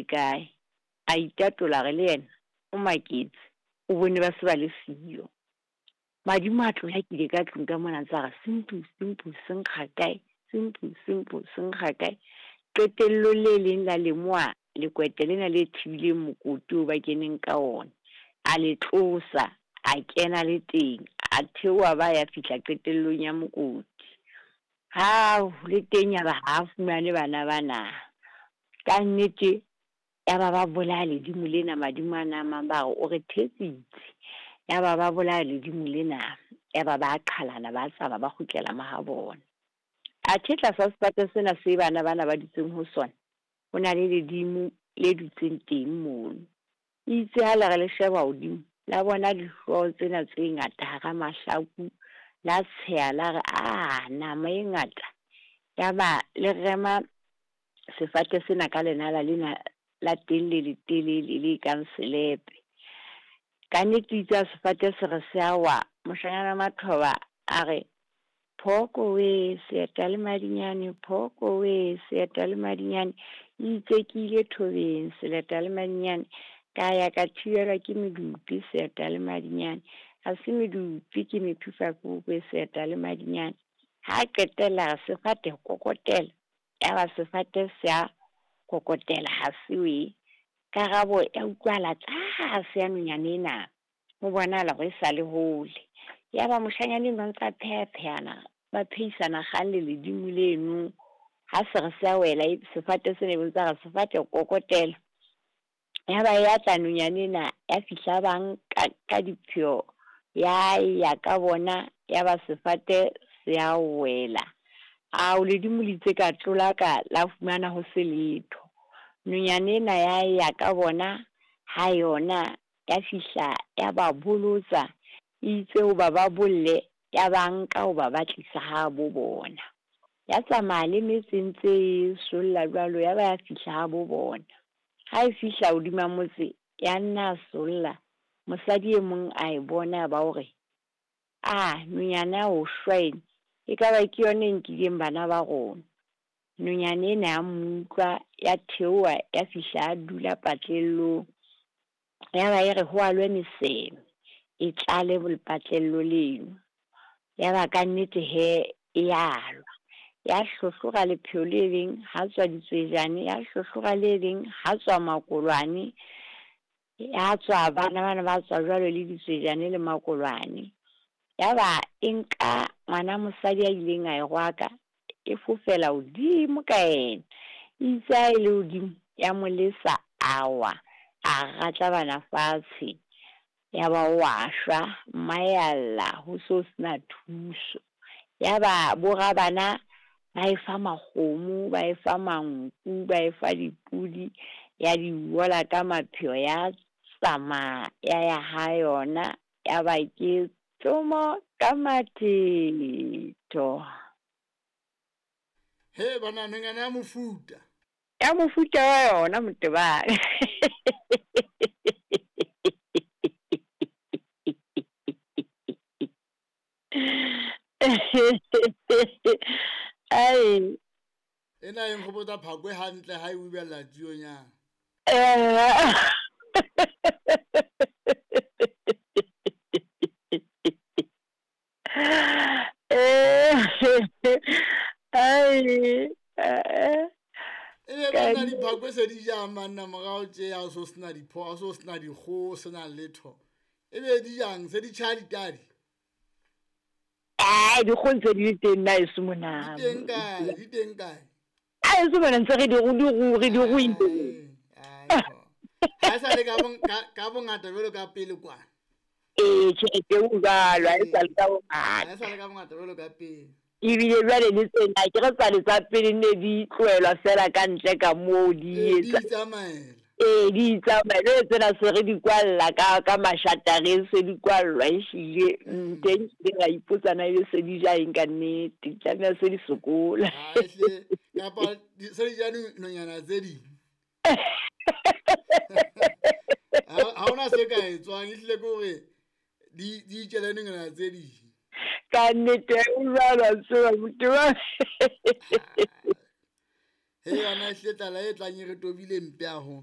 ile kae. A itatola a re le yena o maketse, o bone ba se ba le siyo. Madimo a tlolakile ka tlung ka mona a ntse a re sempu, sempu, se nkga kae, sempu, sempu, se nkga kae. Qetellong le leng la lemoha lekwete lena le thibileng mokoti oo ba keneng ka ona. A le tlosa, a kena le teng, a theoha ba ya fihla qetellong ya mokoti. Hao, le teng ya ba ha a fumane bana bana. Ka nnete ya ba ba bolaya ledimo lena, madimo ana a mang ba re o re thetsitse. Ya ba ba bolaya ledimo lena, ya ba ba qhalana, ba tsamaya ba kgutlela mahabona. Athe tlasa sefate sena se bana bana ba dutseng ho sona, ho na le ledimo le dutseng teng mono. Itse ha le re le sheba hodimo, la bona dihlooho tsena tse ngata hara mahlaku, la tsheha la re, a nama e ngata. Ya ba le rema sefate sena ka lenala lena la teng le letelele le kang selepe. Ka nnete itse ha sefate se re se a wa, moshanyana Mathoba a re, Phoko we, seeta le madinyane, phoko we, seeta le madinyane. Itse ke ile thobeng, seleta le madinyane, ka ya ka thibelwa ke medupi, seeta le madinyane. Ha se medupi ke mephifakokwe, seeta le madinyane. Ha qetella re sefate kokotela, ya ba sefate se a kokotela ha se we. Karabo ya utlwahala tlase ya nonyana ena, ho bonahala hore e sa le hole. Ya ba moshanyana enwa o ntsa pheha-phehana, ba phehisana kgang le ledimo leno. Ha se re se a wela, sefate sena e be ntse re sefate kokotela. Ya ba ya tla nonyana ena, ya fihla ba nka ka dipheo, ya ya ka bona, ya ba sefate se a wela. Ao, ledimo le itse ka tlola ka la fumana ho se letho. Nonyana ena ya ya ka bona, ha yona ya fihla ya ba bolotsa, itse hoba ba bolle, ya ba nka hoba ba tlisa ha bo bona. Ya tsamaya le metse ntse e solla jwalo, ya ba ya fihla ha bo bona. Ha e fihla hodima motse, ya nna solla. Mosadi e mong a e bona ba hore, a nonyana ya ho shwa ena, ekaba ke yona e nkileng bana ba rona. Nonyana ena ya mo utlwa, ya theoha, ya fihla ya dula patlellong. Ya ba e re ho alwe meseme, e tlale lepatlello leno. Ya ba ka nnete he e alwa. Ya hlohlora lepheo le leng, ha tswa ditswejane, ya hlohlora le leng, ha tswa makolwane. Ya tswa bana bana ba tswa jwalo le ditswejane le makolwane. Ya ba e nka ngwana mosadi a ileng a e rwaka, e fofela hodimo ka yena. Itse ha e le hodimo, ya mo lesa a wa, a ratlabana fatshe. Ya ba o a shwa, mmae a lla ho so sena thuso. Ya ba borabana ba e fa makgomo, ba e fa manku, ba e fa dipudi, ya di wola ka mapheo, ya tsamaya ya ya ha yona, ya ba ke tsomo ka mathetho. He bana, nonyana ya mofuta. Ya mofuta wa yona Motebane. Ai. Ena e nkgopotsa phakwe hantle ha e ubella tsionyana. Ai. E be bana diphakwe se di jang banna morao tje, ha o so sena dipho, ha o so sena dikgoho, sena letho. E be di jang, se di tjhaya ditadi? Ai, dikgoho ntse di le teng na heso mona. Di teng kae? Di teng kae? A heso mona ntse re di re di ruile. Ai, ha e sa le ka bongata jwalo ka pele kwana. Ee, tjhe, o jwalo, ha e sa le ka bongata. Ha e sa le ka bongata jwalo ka pele. Ebile jwale le tsena, ke re tsale tsa pele ne di tlohelwa fela ka ntle ka moo di etsa. Di itsamaela. Ee, di itsamaela. Jwale tsena se re di kwalla ka mashatareng, se di kwallwa ehlile. Teng ke ra ipotsa na ebe se di ja eng ka nnete, tlameha se di sokola. Ehlile, kapa se di ja dinonyana tse ding. Ha hona se ka etswang, ehlile ke hore di itjele dinonyana tse ding. Ka nnete o jwalo a tseba Motebane. He yona ehlile tlala e tlang e re tobile mpe haholo.